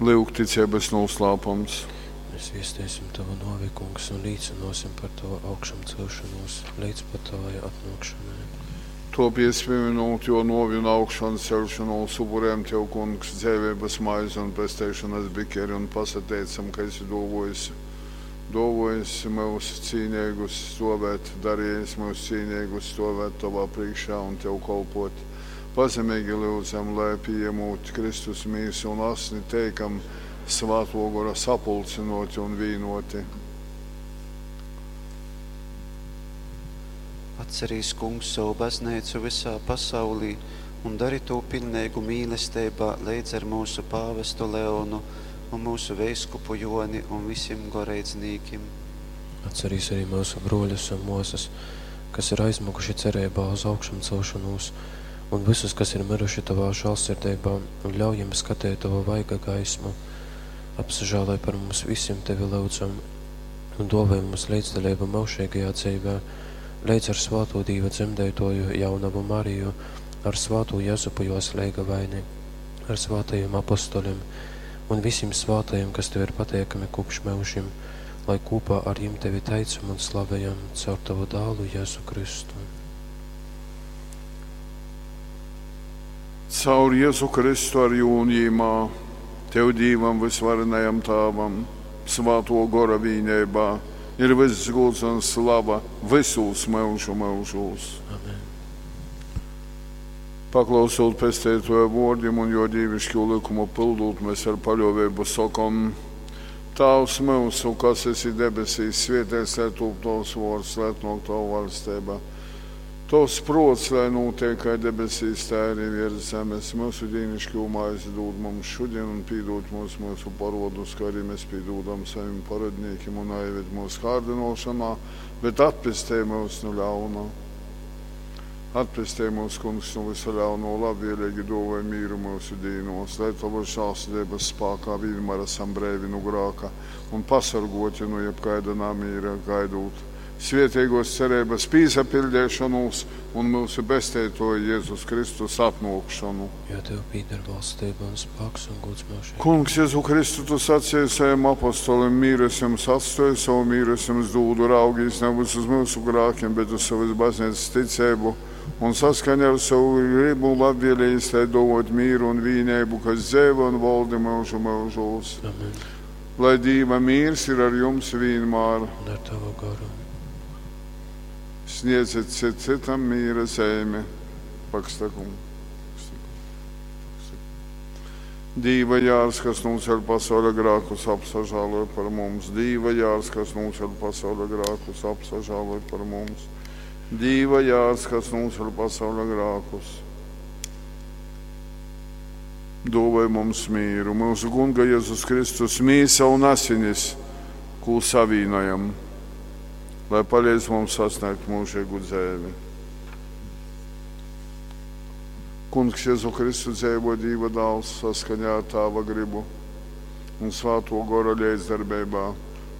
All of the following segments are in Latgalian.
Lyuk ticeibys nūslāpums. Mēs viesteisim Tavu nōvi, Kungs, un līcynōsim par Tavu augšamcelšonūs leidz pat Tovai atnōkšonai. Tōpiec, pīmynūt Jō nōvi un augšanceļšonūs, upurējam Tev, Kungs, dzeiveibas maizi un pesteišonas bikeri un pasateicam, ka esi dōvōjis myus cīneigus stōvēt, darejis myus cīneigus stōvēt Tovā prīškā un Tev kolpōt. Pazemeigi lyudzam, lai, pījamūt Kristus mīsu un asni, teikam Svātō Gora sapulcynōti un vīnōti. Atcerīs, Kungs, sovu bazneicu vysā pasaulī un dori tū piļneigu mīlesteibā leidz ar myusu pāvestu Leonu un myusu veiskupu Jōni un visim goreidznīkim. Atcerīs arī myusu brōļus un mōsas, kas ir aizmyguši cereibā uz augšamcelšonūs, un vysus, kas ir myruši Tovā žālsirdeibā, un ļauj jim skateit Tova vaiga gaismu. Apsažāloj par mums visim, Tevi lyudzam, un dōvoj mums leidzdaleibu myužeigajā dzeivē, leidz ar svātū Dīva dzemdeitōju jaunavu Mariju, ar svātū Jezupu jōs leigavaini, ar svātajim apostolim un visim svātajim, kas Tev ir pateikami kopš myužim, lai kopā ar jim Tevi teicam un slavējam caur Tavu dālu Jēzu Kristu. Caur Jēzu Kristu ar jū un jīmā, Tev Dīvam vysvarenajam Tāvam, Svātō Gora vīneibā, ir vyss gūds un slava vysūs myužu myužūs. Amen. Paklausūt Pesteitōja vōrdim un jō dīviškū lykumu pyldūt, mēs ar paļōveibu sokom: Tāvs myusu, kas esi debesīs, svēteits lai tūp tovs vōrds, lai atnōk tova vaļsteiba. Tovs prōts, lai nūteik kai debesīs, tai arī viers zemes. Myusu dīniškū maizi dūd mums šodien un pīdūd mums myusu parodus, kā arī mēs pīdūdam savim parodnīkim un naieved mūsu kārdinošanā, bet atpestej mūs no ļauna. Atpestej mūs, Kungs, no visa ļauno, labvēlīgi dāvāj mīru mūsu dīnos, lai Tavas žēlsirdības spēkā vienmēr esam breivi no grāka un pasargoti no jebkaida namīra gaidot svētīgos cerības pīsapildīšanos un mūsu besteitoja Jēzus Kristus atnākšanu. Jo Tev pīder valstība un spēks un gods mūžīgi. Kungs, Jēzu Kristu, tu sacīji saviem apostoliem, mīru es jums atstāju, savu mīru es jums dūdu, raugīs nevis uz mūsu grākiem, bet uz savas baznīcas ticību un saskaņā ar savu gribu labvēlījis, lai dovot mīru un vīnību, kas dzēva un valdi mūžu mūžos. Amen. Lai Dīva mīrs ir ar jums vienmēr. Un ar Tavu garu. Sniedziet cit citam mīra zīmi. Pakstakum. Dīva jārs, kas nūceļ pasaules grākus, apsažāloj par mums. Dīva jārs, kas nūceļ pasaules grākus, apsažāloj par mums. Dīva jārs, kas nūceļ pasaules grākus. Dāvāj mums mīru, mūsu Kunga Jēzus Kristus mīsa un asinis, ko savīnojam, lai palīdz mums sasniegt mūžīgu dzīvi. Kungs Jēzu Kristu dzīvo Dīva dāls saskaņā ar Tāva gribu un Svāto Gora līdzdarbeibā.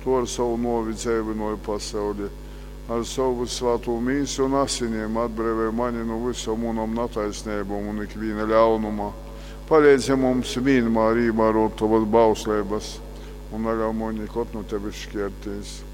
To ar savu novi dzīvinoju pasauli, ar savu svāto mīsu un asinīm atbrīvoja mani no visam unam nataisnībām un ikviena ļaunuma. Palīdzi mums vienmēr ievērot tavas bauslības un neļauj man nekad no tevis šķirties.